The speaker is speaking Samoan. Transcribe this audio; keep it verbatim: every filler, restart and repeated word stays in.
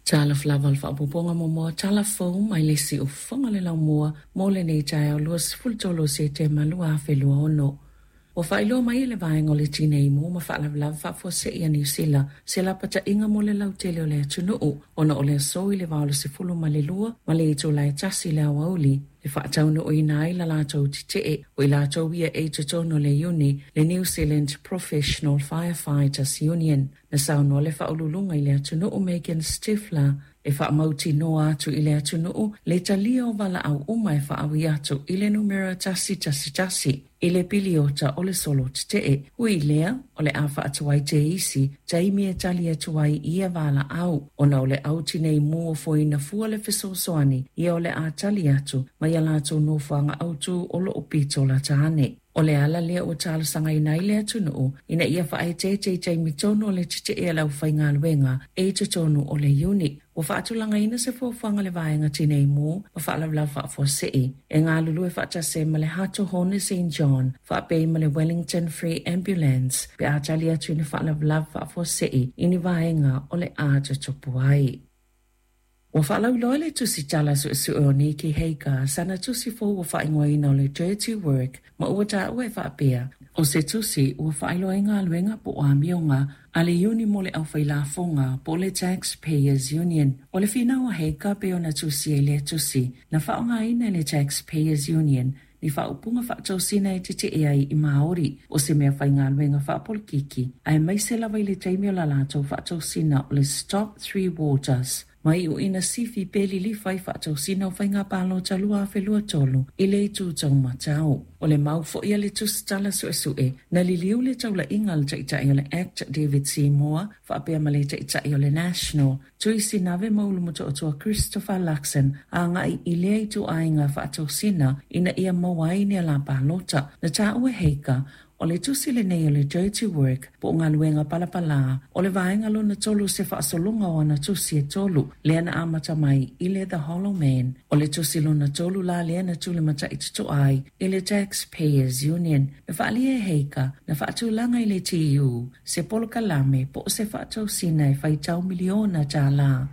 Talofa lava o le faaopoopoga muamua o tala fou mai le siufofoga o le laumua mo lenei taeao luasefulu tolu o Setema lua afe lua ono. Ua faailoa mai e le Vaega o le Tinei Mu ma Faalavelave Faafuasei a Niu Sila se lapataiga mo le lautele o le atunuu ona o le aso i le va o le sefulu ma le lua ma le itula e tasi i le aoauli e faataunuuina ai la latou tetee o i latou ia e i totonu o le iuni le New Zealand Professional Firefighters Union. Na saunoa le faauluuluga i le atunuu Megan Stifler e faamautinoa atu i le atunuu le talia o valaau uma e faaui atu i le numera tasi tasi tasi i le piliota o le solo tetee. Ui i lea, o le a faatuai teisi taimi e tali atu ai i ia valaau ona o le au tinei mu o foina fua le fesoasoani ia o le a tali atu mai a latou nofoaga autu o loo pito lata ane. O le ala lea ua talosagaina ai le atunuu ina ia faaeteete i taimi tonu o le tetee a le aufaigaluega e i totonu o le iuni. Ua faatulagaina se fuafuaga a le Vaega Tinei Mu ma Faalavelave Faafuasei e galulue faatasi ai ma le Hato Hone Saint John faapea ma le Wellington Free Ambulance pe a tali atu i ni faalavelave faafuasei i ni vaega o le a tutupu ai. Ua faalauiloa le tusitala suesue o Nicky Hager sana tusi fou ua faaigoaina o le Dirty Work ma ua taua e faapea o se tusi ua faailoa ai galuega po o amioga a le iuni mo le aufailafoga po o le Taxpayers Union. O le finau a Hager pei ona tusi ai lea tusi na faaaogaina e le Taxpayers Union ni faaupuga faatosina e tetee ai i Māori o se mea faigaluega faapolokiki aemaise lava i le taimi o la latou faatosina o le Stop Three Waters mai uina sifi pe lilifa i faatosina o faiga palota lua afe lua tolu i le itu taumatau. O le mau foi a le tusitala suesue na liliu le taulaiga a le taitai o le Act David Seymour faapea ma le taitai o le National Tui Sinave ma Ulumotootua Christopher Luxon agai i lea ituaiga faatosina ina ia maua ai ni ala palota. Na taua e Hager o le tusi lenei o le Dirty Work po o galuega palapalā o le vaega lona tolu se faasologa o ana tusi e tolu lea na amata mai i le The Hollow Man. O le tusi lona tolu la lea na tulimatai totoa ai i le Taxpayers Union. Na faaalia e Hager na faatulaga i le T U se polokalame po o se faatosina e faitau miliona tālā